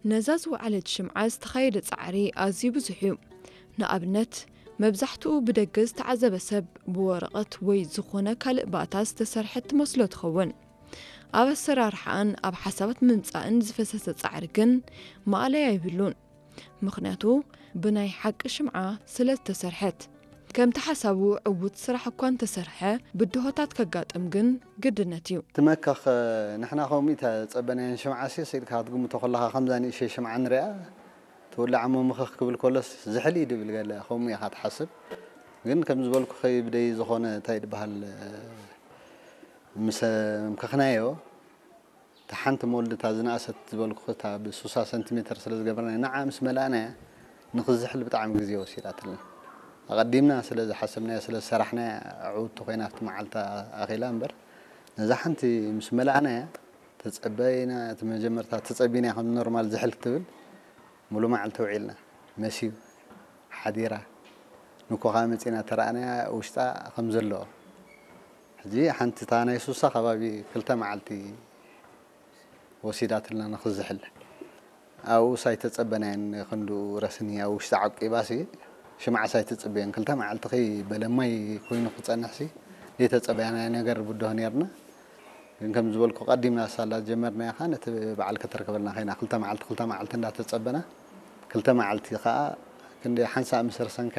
ነዛ ዝወዓለት ሽምዓ ዝተኻየደ ጻዕሪ ኣዝዩ ብዙሕ እዩ። ንኣብነት፣ መብዛሕትኡ ብደገ ዝተዓዘበ ሰብ ብወረቐት ወይ ዝኾነ ካልእ ባእታ ዝተሰርሐት ትመስሎ ትኸውን። ኣብ ኣሰራርሓኣን ኣብ ሓሳባት ምምጻእን ዝፈሰሰ ጻዕሪ ግን ማእለያ የብሉን። ምኽንያቱ፣ ብናይ ሓቂ ሽምዓ ስለ ዝተሰርሐት። ከምቲ ሓሳቡ ዕዉት ስራሕ እኳ እንተሰርሐ፣ ብድሆታት ከጋጥም ግን ግድነት እዩ። ትመከኽ፣ ንሕና ከምኡ ተጸበናየን ሽምዓ ሲ ስኢልካ ክትግምቶ ከለኻ ከምዛ ንእሽተይ ሽምዓ ንሪኣ ትውላዕ እሞ ምኽኽ ክብል ከሎስ ዝሕል እዩ ድብል ገለ ከምኡ ኢኻ ትሓስብ። ግን ከም ዝበልኩኺ ብደይ ዝኾነ እንታይ ድበሃል ምስ ምከኽናዮ እታ ሓንቲ መወልድ እታ ዝነኣሰት ዝበልኩኺ እታ ብ60 ሰንቲሜተር ስለ ዝገበርናያ ንዓ ምስ መላእናያ ንኽዝሕል ብጣዕሚ ግዜ ወሲዳትልና። ኣቐዲምና ስለ ዝሓሰብናዮ ስለ ዝሰራሕናያ ዕውቲ ኮይና ኣብቲ መዓልታ ኣኺላ እምበር ነዛ ሓንቲ ምስ መላእናያ ተጸበይና እቲ መጀመርታ ተጸቢና ከም ኖርማል ዝሕል ክትብል ሙሉ መዓልቲ ውዒልና መስዩ ሓዲራ ንኮኻ መጺና ተረኣናያ ውሽጣ ከም ዘለዎ ሕጂ ሓንቲ እታ ናይ ሱሳ ከባቢ ክልተ መዓልቲ ወሲዳትልና ንኽዝሕል ኣብኡስ ኣይተጸበናየን ክንዱ ረስኒ ኣብ ውሽጢ ዓቂባሲ ሽምዓስ ኣይተጽበየን ክልተ መዓልቲ ከይ በለማይ ኮይኑ ክጸንሕሲ ዘይተጸበያናዮ ነገር ብድሆ ነርና ግን ከም ዝበልኩ ቀዲምና ሳላ ጀመርናያ ኸዓ ነቲ በዓል ከተርከበልና ኸይና ክልተ መዓልቲ ክልተ መዓልቲ እንዳተጸበና ክልተ መዓልቲ ኸዓ ክንደ ሓንሳእ ምስ ረሰንካያ